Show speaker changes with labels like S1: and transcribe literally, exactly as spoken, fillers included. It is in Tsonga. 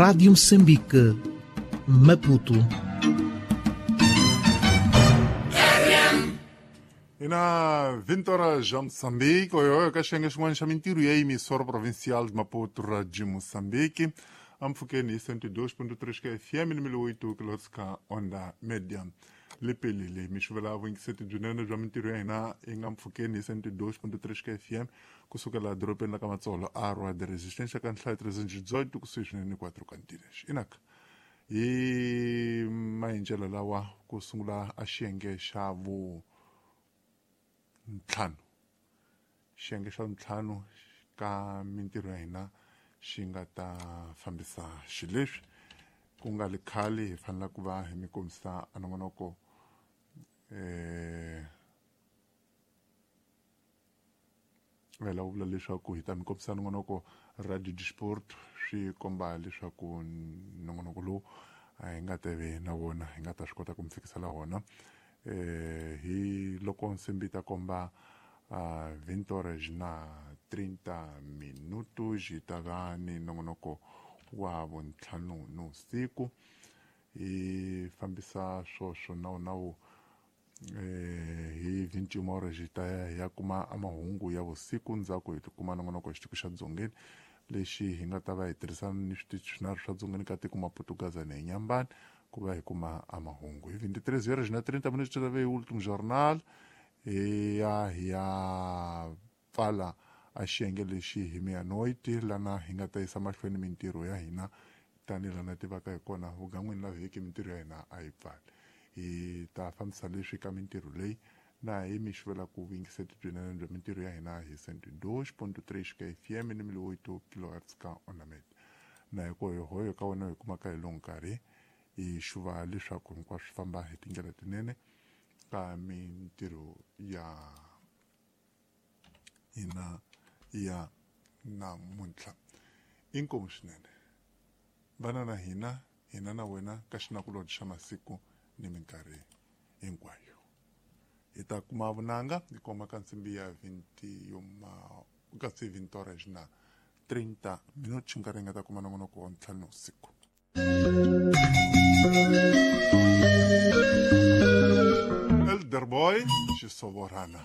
S1: Rádio Moçambique, Maputo.
S2: Ina vinte horas já Moçambique, oi oi, ka xiyenge xin'wana xa mintirho ya emissora provincial de Maputo Radio Moçambique. Ampfukeni hi cento e dois ponto três ka F M ni mil oito kilohertz ka onda média. Lepelele mixuvela vuyingiseti byinene bya mintirho ya hina yi nga mpfhukeni hi cento e dois ponto três ka F M kusukela edorobeni la ka Matsolo a Rua de Resistência ka nhlayo trezentos e dezoito kusuhi swinene quatro Cantinas. Inaka hi maendlelo lawa ku sungula a xiyenge xa vu ntlhanu xiyenge xa ntlhanu ka mintirho ya hina xi nga ta fambisa xileswi ku nga li khale hi fanele ku va hi mi kombisa a nongonoko eh vela vula leswaku hi ta mi kombisa nongonoko Radio Disport swi komba leswaku nongonoko lowu a hi nga teve na wona hi nga ta swi kota ku mi fikisela wona eh hi loko nsimbi ta komba a vinte horas na trinta minutos hi ta va ni nongonoko wa vuntlhanu nivusiku hi fambisa swoswo nawu nawu eh hi vinte e uma horas hi ta ya hi ya kuma amahungu ya vusiku ndzhaku hi tikuma nongonoko hi xitiko xa dzongeni lexi hi nga ta va hi tirhisana ni switichi swinharhu swa dzongeni ka tiko Maputo Gaza na Inhambane ku va hi kuma amahungu hi vinte e três horas na trinta minutos ta ve hi último jornal hi ya hi ya pfala a xiyenge lexi hi meia-noite lana hi nga ta yisa mahlweni mintirho ya hina tanihi lana tivaka hi kona vugan'wini la vhiki mintirho ya hina a yi pfali hi ta fambisa leswi ka mintirho leyi na hi mi xivela ku vuyingiseti byinene bya mintirho ya hina hi cento e dois ponto três ka F M ni mil oito kilohertz ka Onamed na hi ku hoyo ka wena hi kumaka hi lowu nkarhi hi xuva leswaku hinkwaswo swi famba hi tindlela tinene ka mintirho ya hina ya namuntlha inkomu swinene vana na hina hina na wena ka xinakulobye xa masiku ni minkarhi hinkwayo hi ta kuma vunanga hi koma ka nsimbi ya vinte e uma kasi vinte horas na trinta minutos nkarhi hi nga ta kuma nongonoko wa ntlhanu usiku. Elder Boy xisovorana.